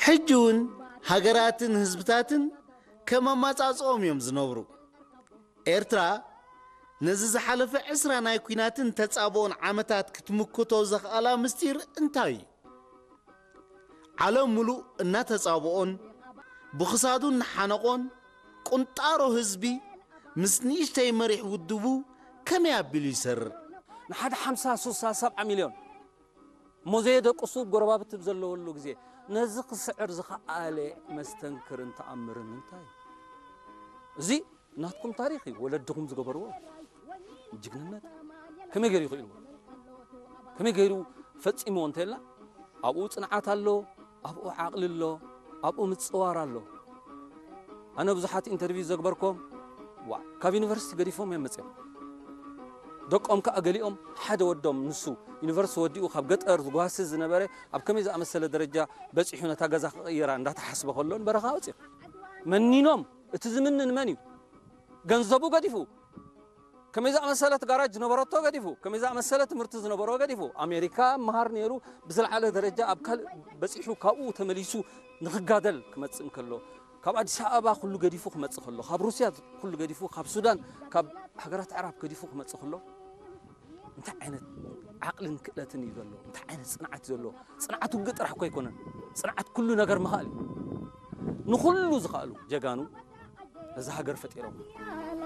ሕጂ እውን ሃገራትን ህዝብታትን ከም ኣማጻጽኦም እዮም ዝነብሩ። ኤርትራ ነዚ ዝሓለፈ ዕስራ ናይ ኲናትን ተጻብኦን ዓመታት ክትምክቶ ዘኽኣላ ምስጢር እንታይ እዩ? ዓለም ምሉእ እናተጻብኦን ብኽሳዱ እናሓነቖን፣ ቁንጣሮ ህዝቢ ምስ ንእሽተይ መሪሕ ውድቡ ከመይ ኣቢሉ ይሰርር? ንሓደ ሓምሳ፣ ስሳ፣ ሰብዓ ሚልዮን እሞ ዘየደቅሱ ጎረባብቲ ብዘለወሉ ግዜ፣ ነዚ ክስዕር ዝኸኣለ መስተንክርን ተኣምርን እንታይ እዩ? እዚ ናትኩም ታሪኽ እዩ፣ ወለድኹም ዝገበርዎ ጅግንነት። ከመይ ገይሩ ይኽእልዎ? ከመይ ገይሩ ፈጺምዎ እንተልና፣ ኣብኡ ጽንዓት ኣሎ፣ ኣብኡ ዓቕሊ ኣሎ፣ ኣብኡ ምጽዋር ኣሎ። ኣነ ብዙሓት ኢንተርቪው ዘግበርኮም፣ ዋ፣ ካብ ዩኒቨርሲቲ ገዲፎም እዮም መጽዮም። ደቆም ከኣ ገሊኦም፣ ሓደ ወዶም ንሱ ዩኒቨርሲቲ ወዲኡ ካብ ገጠር ዝጓሲ ዝነበረ፣ ኣብ ከመይ ዝኣመሰለ ደረጃ በጺሑ ነታ ገዛ ክቕይራ እንዳተሓስበ ከሎ ንበረኻ ወጺኦም። መኒኖም፣ እቲ ዝምንን መን እዩ? ገንዘቡ ገዲፉ፣ ከመይ ዝኣመሰለት ጋራጅ ዝነበረቶ ገዲፉ፣ ከመይ ዝኣመሰለ ትምህርቲ ዝነበሮ ገዲፉ፣ ኣሜሪካ መሃር ነይሩ፣ ብዝለዓለ ደረጃ ኣብ ካልእ በጺሑ፣ ካብኡ ተመሊሱ ንኽጋደል ክመጽእ እንከሎ፣ ካብ ኣዲስ ኣበባ ኩሉ ገዲፉ ክመጽእ ከሎ፣ ካብ ሩስያ ኩሉ ገዲፉ፣ ካብ ሱዳን፣ ካብ ሃገራት ኣዕራብ ገዲፉ ክመጽእ ከሎ፣ እንታይ ዓይነት ዓቕልን ክእለትን እዩ ዘሎ? እንታይ ዓይነት ጽንዓት እዩ ዘሎ? ጽንዓት ውግእ ጥራሕ እኮ ኣይኮነን። ጽንዓት ኩሉ ነገር ምኽኣል እዩ። ንኹሉ ዝኽኣሉ ጀጋኑ ነዛ ሃገር ፈጢሮም።